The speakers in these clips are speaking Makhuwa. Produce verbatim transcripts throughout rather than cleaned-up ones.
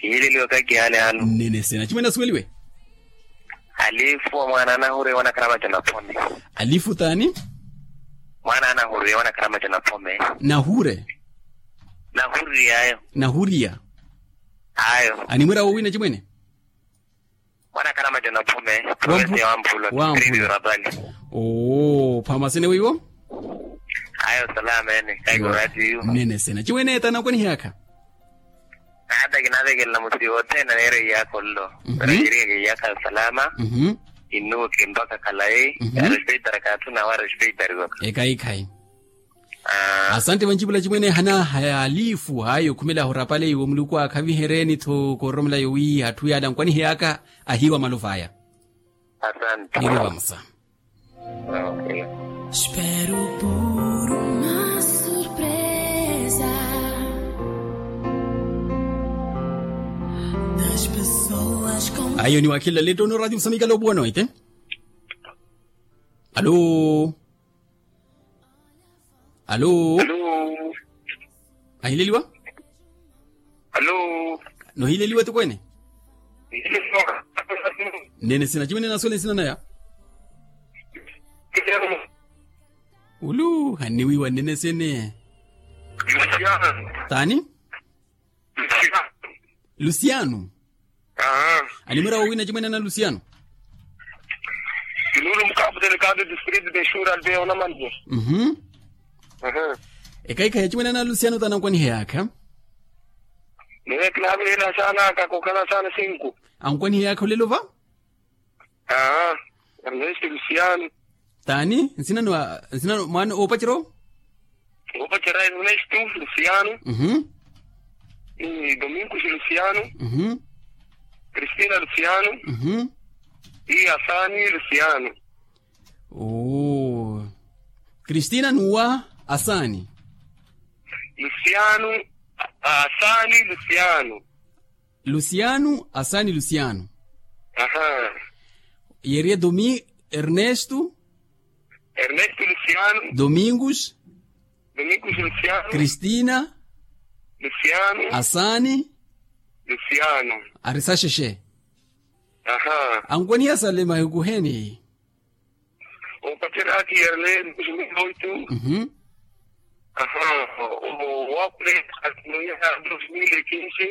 Kihiileliwa kakihaani hanu. Nnene sena chimwene asuweliwe. Alifu wa mwaana anahuriwa na karamaca na phome. Alifu t'ani? Mwaana anahuriwa na karamaca na phome. Nahure. Nahuriya ayo. Nahuriya. Ayo. Animwira wowina chimwene? Mwaana karamaca na phome. Provinsi ya wampulo. Wampulo. Tridi rapali. Oo phamasene wiwo. Ayo salama ene kaikorati yu. Nnene sena chimwene t'ani ankwanihiyakha? Naata kinavekelela musiiwa othene aneera iyakha ollo. Para yiriyaka iyakha salama. Innuweke mpakha khalayi. Arespeitara kaathu nawe arespeitariwaka. Ekhayi khayi. Asante vancipula chimwene hana halifu hayo khumela ahurapale iwo muluku akhavihereni-tho koororomela yowi atthu yala ankwanihiyaka. Ahiiwa maluva aya. Asante. Niri vamosa. Espero por uma surpresa das pessoas com. Ayo ni wakhilela lettono radio musamikala opuwa noite. Alo. Alo. Ahileliwa. Alo. Nohileliwa ti kwene. Nene sina chimwene nasuwele nsina naya. Ulu hanniwiwa nnene sene. Tani? Lusiano. Animwira wowina chimwene ana lusiano. Inulo mukaputeni kandi district de shura albe ona manje. Ekaikha ya chimwene ana lusiano tani ankwaniheyakha. Newe kinavilela sana kakokhala sana sinku. Ankwaniheyakha olelo va. Aa. Ernesto lusiano. Tani nsinano mwaana oopacero. Oopacero ernesto lusiano. Domingos lusiano. Cristina lusiano. Asani lusiano. Oo. Cristina nuwa asani. Lusiano. Asani lusiano. Lusiano asani lusiano. Yeeriye domi ernesto. Ernesto lusiano. Domingos. Domingos lusiano. Cristina. Lusiano. Asani. Lusiano. Ari saxexe. Ankwaniha sale mahiku heni. Opatera aki ernesto. Aha. Owakule akinoya dos mil e kinsi.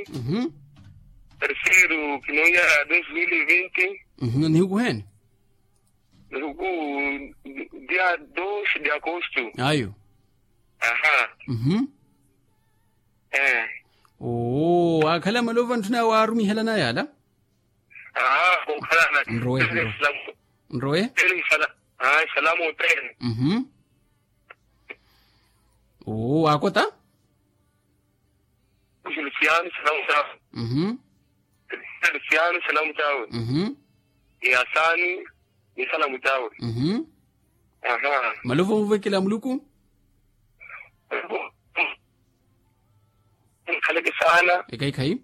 Terceiro kinoya dos mil e vinti. Nihukuheni. Nihuku dia dos de agosto. Ayo. Aha. Oo akhala malovo anthuna waarumihelana yala. Nrowe. Nrowe. Salamu tene. Oo waakota. Lusiano salamu tawe. Lusiano salamu tawe. Ni asani ni salamu tawe. Malovo muvekela muluku. Khaleke sana. Ekhayi khayi.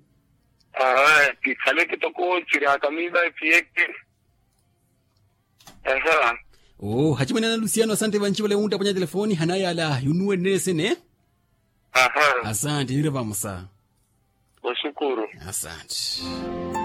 Khaleke toko chiri akamiva epiyeke. Oo hachimwene ana lusiano asante vanci vale wunttaponya telefoni hanayala yunuwe nnene sene. Asante niri vamosa. Oxukuru. Asante.